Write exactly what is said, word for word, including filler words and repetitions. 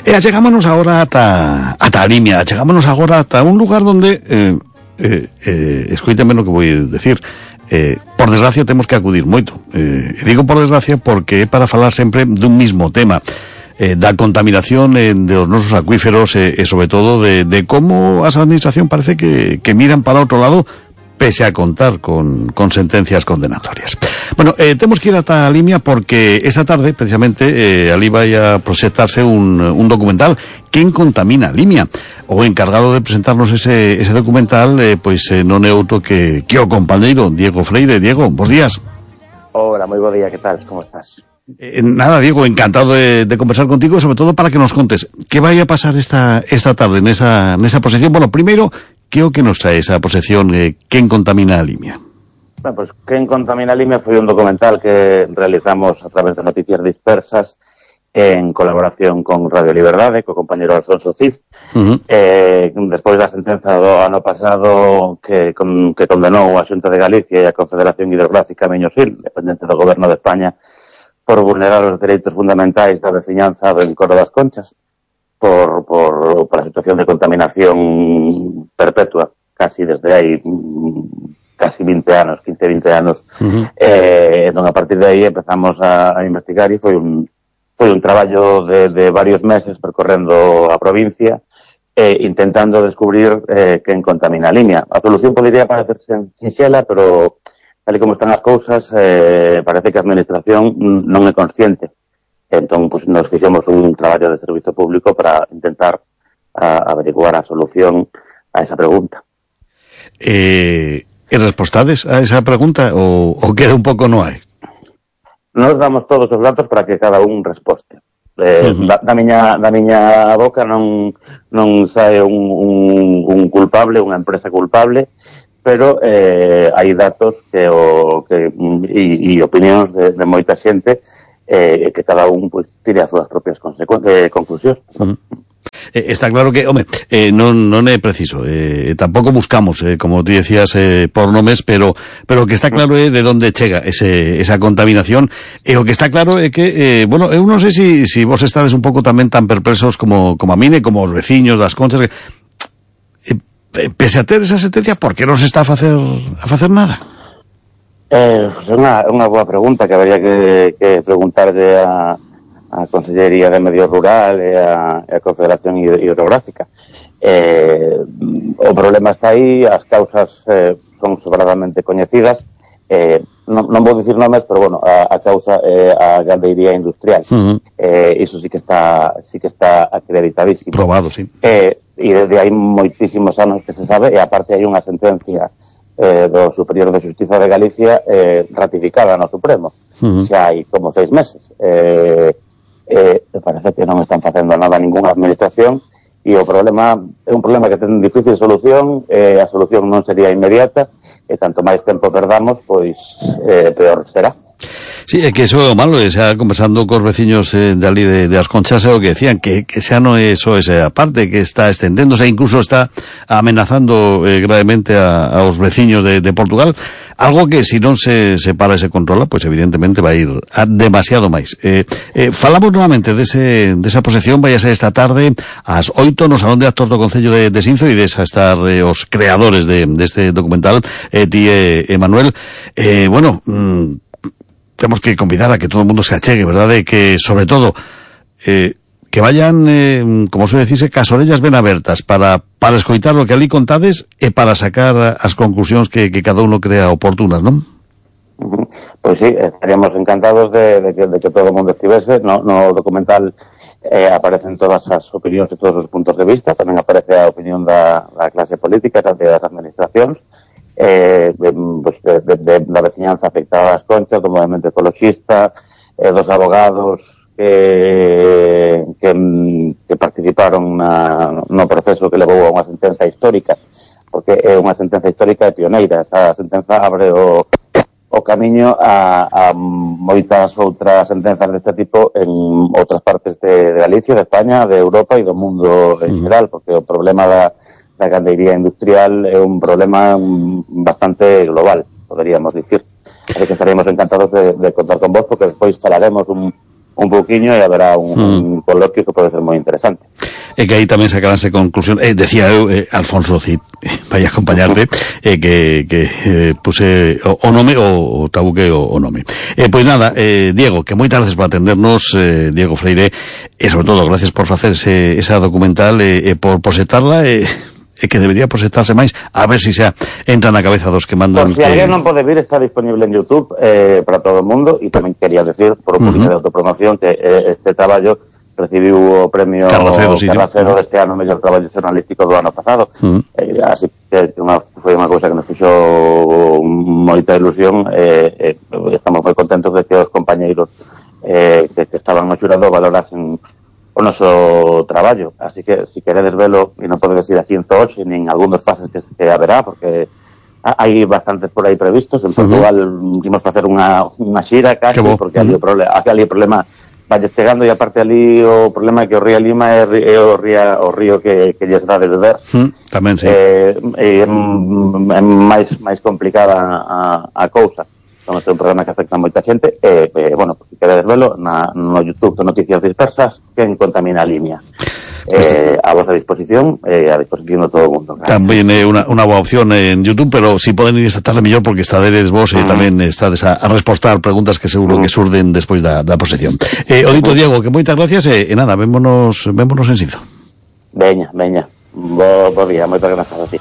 E achegámonos agora ata, ata a Limia, achegámonos agora ata un lugar donde, eh, eh, eh, escoíteme no que vou decir, eh, por desgracia temos que acudir moito. Eh, digo por desgracia porque é para falar sempre dun mismo tema, eh, da contaminación eh, dos nosos acuíferos eh, e sobre todo de, de como as administración parece que, que miran para outro lado pese a contar con, con sentencias condenatorias. Bueno, eh, temos que ir hasta a Limia porque esta tarde, precisamente, eh, ali vai a proxectarse un, un documental Quen contamina Limia. O encargado de presentarnos ese, ese documental, eh, pois eh, non é outro que, que o compañeiro Diego Freire. Diego, bons días. Hola, moi bo día, que tal? Como estás? Eh, nada, Diego, encantado de, de conversar contigo, sobre todo para que nos contes que vai a pasar esta, esta tarde nesa, nesa proxección. Bueno, primeiro, que o que nos trae esa proxección eh, Quen contamina a Limia? Bueno, pues Quen contamina a Limia foi un documental que realizamos a través de Noticias Dispersas en colaboración con Radio Liberdade, co compañero Alfonso Cid. Uh-huh. Eh, despois da sentenza do ano pasado que, con, que condenou a Xunta de Galicia e a Confederación Hidrográfica Miño-Sil, dependente do Goberno de España, por vulnerar os dereitos fundamentais da veciñanza do Encoro das Conchas, por, por, por a situación de contaminación perpetua, casi desde hai casi vinte anos, quince, vinte anos. Uh-huh. Eh, entón, a partir de aí empezamos a, a investigar e foi un, foi un traballo de, de varios meses percorrendo a provincia eh, intentando descubrir eh, quen contamina a Limia. A solución podría parecer sinxela, pero tal e como están as cousas, eh, parece que a administración non é consciente. Entón, pues, nos fixemos un traballo de servizo público para intentar a, averiguar a solución a esa pregunta. Eh, e respostades a esa pregunta ou, ou queda un pouco no hai? Nos damos todos os datos para que cada un resposte. Eh, uh-huh. da, da, miña, da miña boca non, non sae un, un, un culpable, unha empresa culpable, pero eh, hai datos que o, que, e, e opinións de, de moita xente eh, que cada un pues, tire as súas propias eh, conclusións. Uh-huh. Eh, está claro que, home, eh, non, non é preciso, eh, tampouco buscamos, eh, como ti decías, eh, por nomes, pero pero o que está claro é de onde chega ese, esa contaminación, e o que está claro é que, eh, bueno, eu non sei se si, si vos estades un pouco tamén tan perplexos como, como a mine, como os veciños das Conchas, que, eh, pese a ter esa sentencia, por que non se está a facer, a facer nada? É eh, unha, unha boa pregunta que habería que, que preguntarle a, a Consellería de Medio Rural e a, a Confederación Hidrográfica. Eh, o problema está aí, as causas eh, son sobradamente coñecidas. Eh, non, non vou dicir nomes, pero bueno, a, a causa é eh, a gandeiría industrial. Uh-huh. Eh, iso sí que está sí que está acreditadísimo. Probado, sí. Eh, e desde hai moitísimos anos que se sabe, e aparte hai unha sentencia Eh, do Superior de Xustiza de Galicia eh, ratificada no Supremo. Uh-huh. Xa hai como seis meses. Eh, eh, parece que non están facendo nada a ninguna administración e o problema é un problema que ten difícil solución, eh, a solución non sería inmediata e tanto máis tempo perdamos, pois eh, peor será. Sí, é que iso é o malo, e xa conversando cos veciños eh, de ali de, de As Conchas, é o que decían, que, que xa non é só esa parte, que está estendéndose, incluso está amenazando eh, gravemente a, aos veciños de, de Portugal, algo que si non se, se para e se controla, pois pues, evidentemente vai ir a demasiado máis. Eh, eh, falamos novamente dese, desa posesión, vai a ser esta tarde ás oito no Salón de Actos do Concello de, de Sinzo, e desa estar eh, os creadores de, deste documental, eh, ti e eh, Manuel. Eh, bueno, mmm, temos que convidar a que todo o mundo se achegue, verdade? Que, sobre todo, eh, que vayan, eh, como suele decirse, cas orellas ben abertas para, para escoitar o que ali contades e para sacar as conclusións que, que cada uno crea oportunas, non? Uh-huh. Pois sí, estaríamos encantados de, de, que, de que todo o mundo estivese. No, no documental eh, aparecen todas as opinións e todos os puntos de vista, tamén aparece a opinión da, da clase política, tanto das administracións, Eh, de, pues de, de, de la veciñanza afectada a As Conchas, do movimento ecologista, eh, dos abogados que, que, que participaron na, no proceso que levou a unha sentenza histórica, porque é unha sentenza histórica e pioneira. Esta sentenza abre o, o camiño a, a moitas outras sentenzas deste tipo en outras partes de, de Galicia, de España, de Europa e do mundo en xeral, porque o problema da da gandeiría industrial é un problema bastante global, poderíamos dicir. Así que estaríamos encantados de, de contar con vos, porque despois falaremos un, un poquinho e haberá un, mm. un coloquio que pode ser moi interesante. E que aí tamén sacaránse conclusión, eh, decía eu, eh, Alfonso Cid, vai a acompañarte, eh, que, que eh, puse o, o nome, o, o tabuque o, o nome. Eh, pois nada, eh, Diego, que moitas gracias por atendernos, eh, Diego Freire, e sobre todo, gracias por facer ese, esa documental, e eh, eh, por proxectarla, e eh, e que debería proxectarse máis, a ver se si xa entra na cabeza dos que mandan. Por si que... alguén non pode vir, está disponible en YouTube eh, para todo o mundo, e tamén quería decir, por un poquinho uh -huh. de autopromoción, que eh, este traballo recibiu o premio Carracedo, sí, Carracedo sí. deste ano, mellor traballo xornalístico do ano pasado. Uh -huh. eh, así que unha, foi unha cousa que nos fixo moita ilusión, eh, eh, estamos moi contentos de que os compañeiros eh, que, que estaban no xurado valorasen o noso traballo, así que si queredes velo, e non podedes ir así en Zoche, nin algún dos fases que, que haberá, porque hai bastantes por aí previstos. En Portugal uh-huh. imos facer unha, unha xira casi, porque ali o, prole ali o problema vai chegando, e aparte ali o problema é que o río Lima é, é o, ría, o río que, que lles dá de beber. Uh, tamén, sí. Eh, é, é máis, máis complicada a, a cousa. Somos un programa que afecta a moita xente, e, eh, bueno, se queredes velo, na, no YouTube de Noticias Dispersas, quen contamina a Limia. Eh, a vosa disposición, eh, a disposición de todo o mundo. Claro. Tamén é eh, unha, unha boa opción en YouTube, pero si poden ir esta tarde mellor, porque estadedes vos e eh, uh -huh. tamén estades a, a respostar preguntas que seguro uh -huh. que surden despois da, da posesión. Eh, o dito, uh -huh. Diego, que moitas gracias, e eh, nada, vémonos, vémonos en Sizo. Veña, veña. Bo, bo día, moitas grazas a ti.